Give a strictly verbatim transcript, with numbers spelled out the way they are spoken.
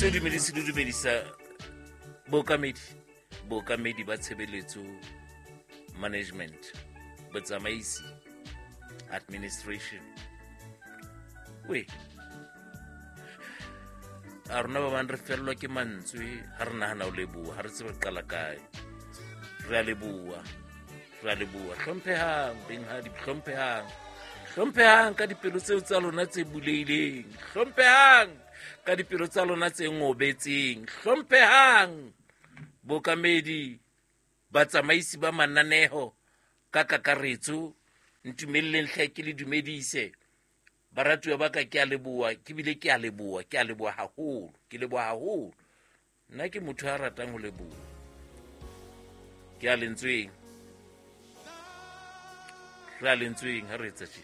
Se dumedise le dumedisa bookamedi, bookamedi ba tshebeletso, management, botsamaisi, administration. We a rona ba bang re fellwa ke mantswe ha re nahana ho leboha, ha re tsebe re qala kae. Re a leboha, re a leboha. Hlomphehang benghadi, hlomphehang, hlomphehang ka dipelo tseo tsa lona tse bulehileng, hlomphehang ka dipelo tsa lona tse ngobetseng, hlomphehang bookamedi, batsamaisi ba mananeho ka kakaretso. Ntumelleng hle ke le dumedise baratuwa ba ka, ke a leboha, ke bile ke a leboha, ke a leboha haholo, ke leboha haholo. Nna ke motho ya ratang ho leboha. Ke a lentsweng, re a lentsweng ha re etsa tje.